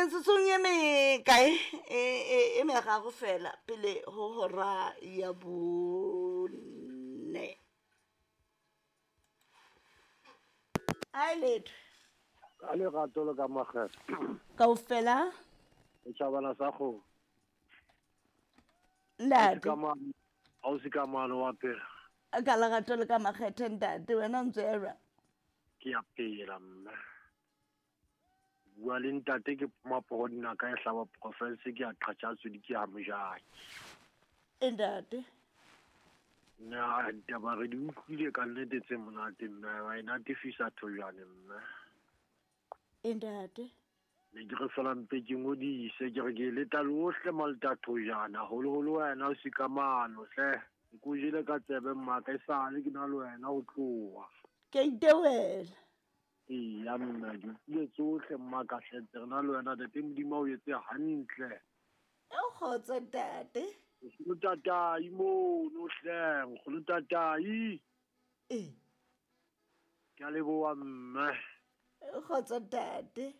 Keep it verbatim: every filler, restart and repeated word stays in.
Metsotsong e mekae e, e, e meraro fela pele ho hora ya bone. Ai letho. Ka lerato le ka makgetho. Kaofela. Setjhabana sa kgomo. Ntate. Ha o se ka mano wa pela. Ka lerato le ka makgetho ntate, wena o ntse ya jwang? Ke ya pela mme. Bua le ntate ke maporo dinaka e hlaba province ke ya qhatjha di ke ya mojaki. Ntate. Na ditaba re di utlwile ka nnete tse monate mme wa e natefisa thojane mme. Ntate. Ne ke re fela mpe ke ngodise ke re ke leta lohle malta thojana haholoholo wena o sikamano hle. Ke o jele ka tsebe mmaka e sale ke na le wena ho tloha. Ke itewela. Eya mme di utlwile tsohle mmaka hle ntse re na le wena ntate Modimo o etse hantle. E kgotso ntate. Nkgono tatai mono hle, nkgono tatai. Eh. Ke a leboha mme. E kgotso ntate.